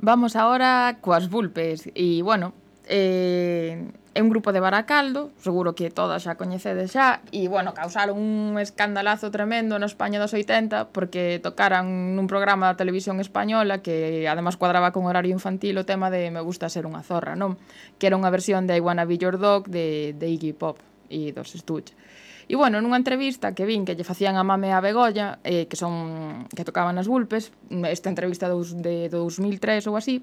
Vamos agora coas vulpes. E, bueno, é un grupo de Baracaldo, seguro que todas xa coñecedes xa, e, bueno, causaron un escandalazo tremendo na España dos 80 porque tocaran nun programa da televisión española que además cuadraba con horario infantil o tema de Me gusta ser unha zorra, non? Que era unha versión de I Wanna Be Your Dog de Iggy Pop e dos Stooges. E, bueno, nunha entrevista que vin que lle facían a Mame e a Begolla, que tocaban as vulpes, esta entrevista de 2003 ou así,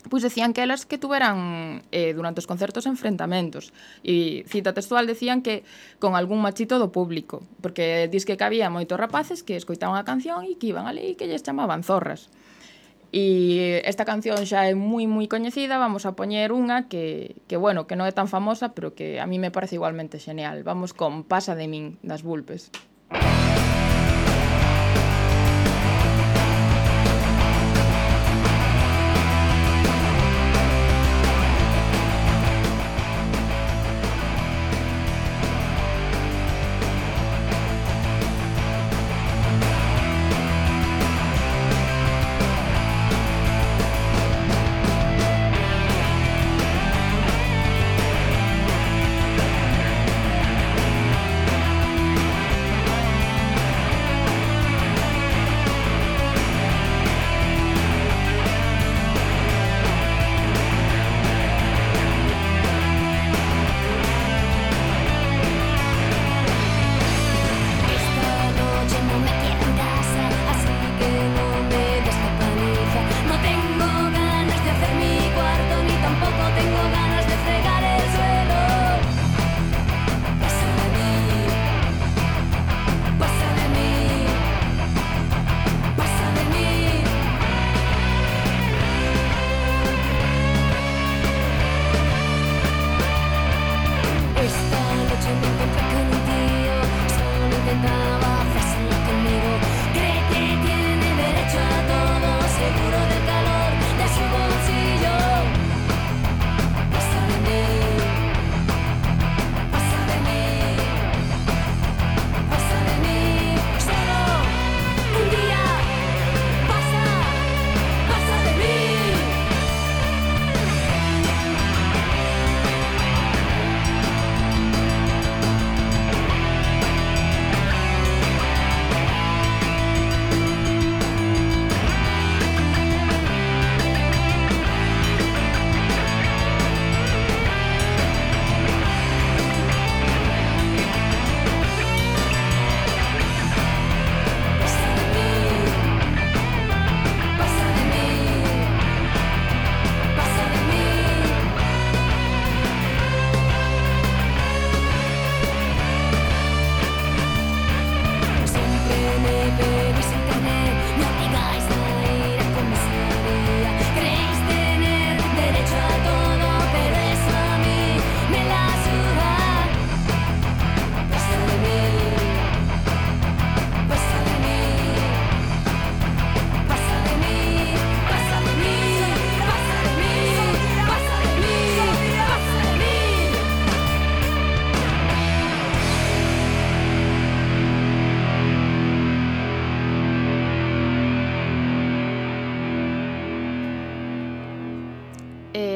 pois decían que elas que tuveran durante os concertos enfrentamentos, e cita textual decían que con algún machito do público, porque dis que había moitos rapaces que escoitaban a canción e que iban ali e que lles chamaban zorras. E esta canción xa é moi coñecida, vamos a poñer unha que bueno, que non é tan famosa, pero que a mí me parece igualmente xeneal. Vamos con Pasa de min, das vulpes.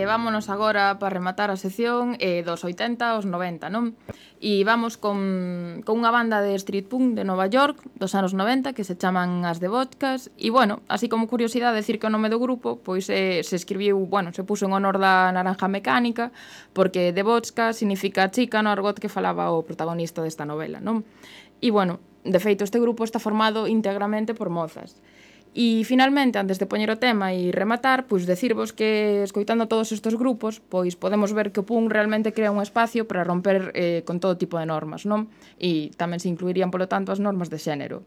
Vámonos agora para rematar a sección dos 80 aos 90, non? E vamos con unha banda de street punk de Nova York dos anos 90 que se chaman As de Vodkas e, bueno, así como curiosidade decir que o nome do grupo pois se escribiu, bueno, se puso en honor da naranja mecánica porque de Vodka significa chica no argot que falaba o protagonista desta novela, non? E, bueno, de feito este grupo está formado íntegramente por mozas. E, finalmente, antes de poñer o tema e rematar, pois decirvos que, escoitando todos estes grupos, pois podemos ver que o punk realmente crea un espacio para romper con todo tipo de normas, non? E tamén se incluirían, polo tanto, as normas de xénero.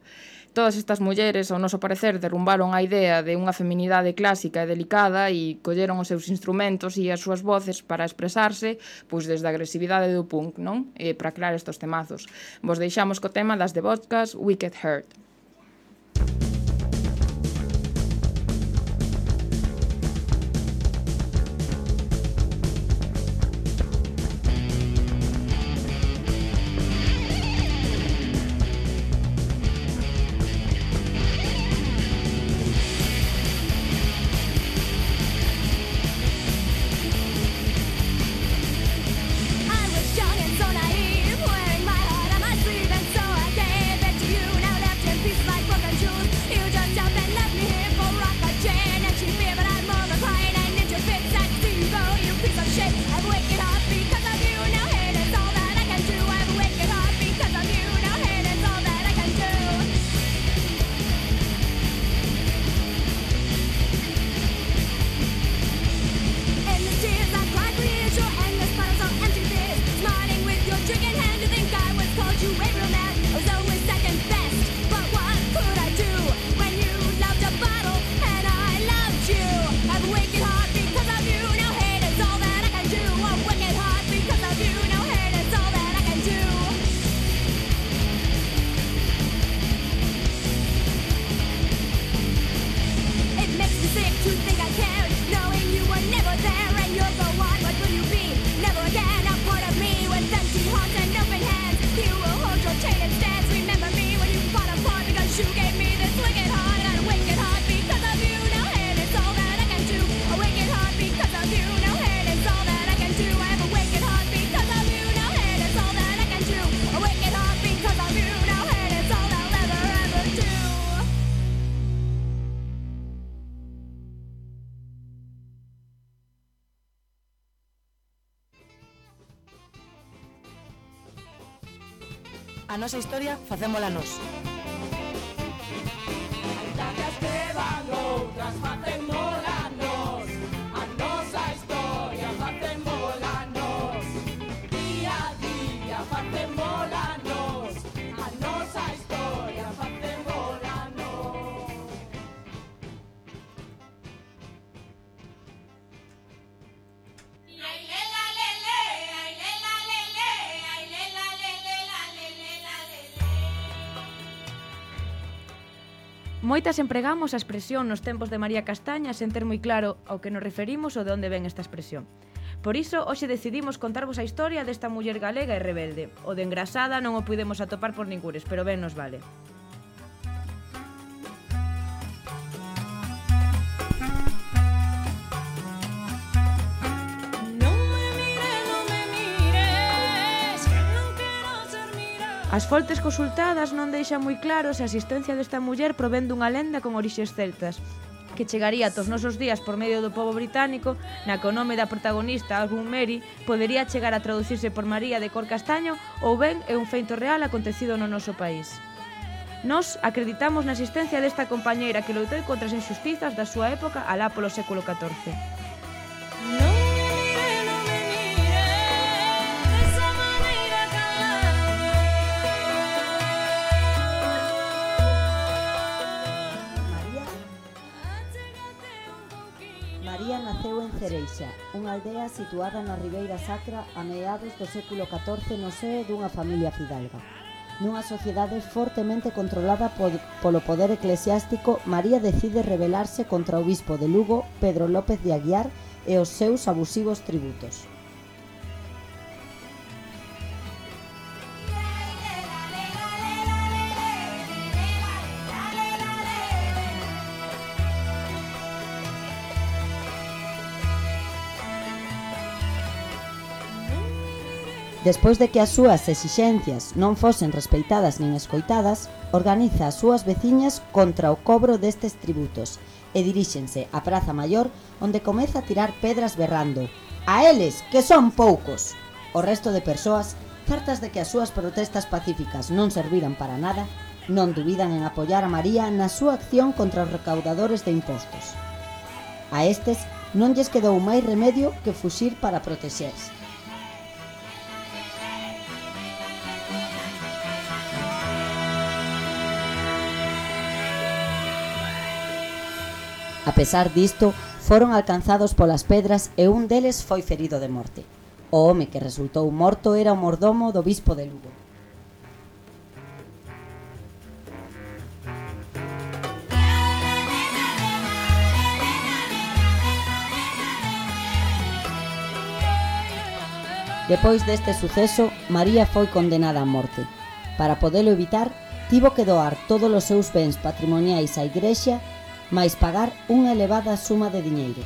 Todas estas mulleres, ao noso parecer, derrumbaron a idea de unha feminidade clásica e delicada e colleron os seus instrumentos e as súas voces para expresarse, pois desde a agresividade do punk, non? E para crear estes temazos. Vos deixamos co tema das de Vodkas, Wicked Heart. A nosa historia facémola nós. Moitas empregamos a expresión nos tempos de María Castaña sen ter moi claro ao que nos referimos ou de onde ven esta expresión. Por iso, hoxe decidimos contarvos a historia desta muller galega e rebelde. O de engrasada non o pudemos atopar por ningures, pero ben nos vale. As fontes consultadas non deixan moi claro se a existencia desta muller provén dunha lenda con orixes celtas, que chegaría aos nosos días por medio do pobo británico, na que o nome da protagonista, Album Mary, podería chegar a traducirse por María de cor castaño ou ben é un feito real acontecido no noso país. Nós acreditamos na existencia desta compañeira que loitou contra as injustizas da súa época alá polo século XIV. María naceu en Cereixa, unha aldea situada na Ribeira Sacra a meados do século XIV no seo dunha familia fidalga. Nunha sociedade fortemente controlada polo poder eclesiástico, María decide rebelarse contra o bispo de Lugo, Pedro López de Aguiar, e os seus abusivos tributos. Despois de que as súas exixencias non fosen respeitadas nin escoitadas, organiza as súas veciñas contra o cobro destes tributos e diríxense á Praza Maior, onde comeza a tirar pedras berrando: "A eles, que son poucos!". O resto de persoas, certas de que as súas protestas pacíficas non serviran para nada, non dubidan en apoiar a María na súa acción contra os recaudadores de impostos. A estes non lles quedou máis remedio que fuxir para protexerse. A pesar disto, foron alcanzados polas pedras e un deles foi ferido de morte. O home que resultou morto era o mordomo do bispo de Lugo. Depois deste suceso, María foi condenada a morte. Para podelo evitar, tivo que doar todos os seus bens patrimoniais á Igrexa, mais pagar unha elevada suma de diñeiro.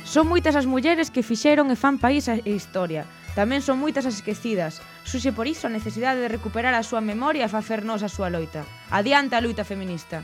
Son moitas as mulleres que fixeron e fan país e historia. Tamén son moitas as esquecidas. Surxe por iso a necesidade de recuperar a súa memoria e facernos a súa loita. Adiante a loita feminista.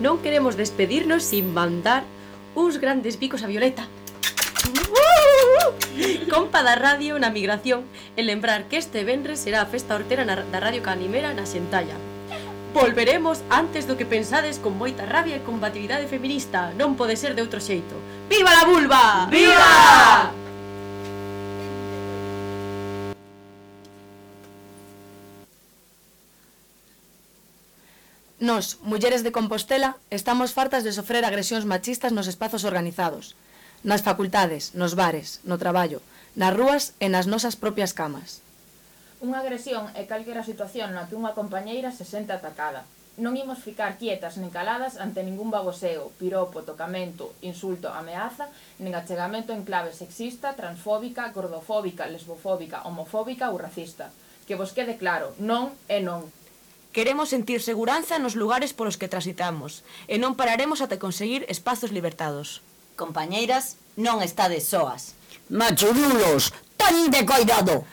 non queremos despedirnos sin mandar uns grandes bicos a Violeta, compa da radio na migración, e lembrar que este venres será a festa hortera da Radio Canimera na Xentalla. Volveremos antes do que pensades, con moita rabia e combatividade feminista. Non pode ser de outro xeito. Viva la vulva! Viva! Nos, mulleres de Compostela, estamos fartas de sofrer agresións machistas nos espazos organizados, nas facultades, nos bares, no traballo, nas rúas e nas nosas propias camas. Unha agresión é calquera situación na que unha compañeira se sente atacada. Non imos ficar quietas nen caladas ante ningún baboseo, piropo, tocamento, insulto, ameaza, nen achegamento en clave sexista, transfóbica, gordofóbica, lesbofóbica, homofóbica ou racista. Que vos quede claro, non é non. Queremos sentir seguranza nos lugares polos que transitamos e non pararemos ata conseguir espazos libertados. Compañeiras, non estades soas. Machurulos, tan de coidado!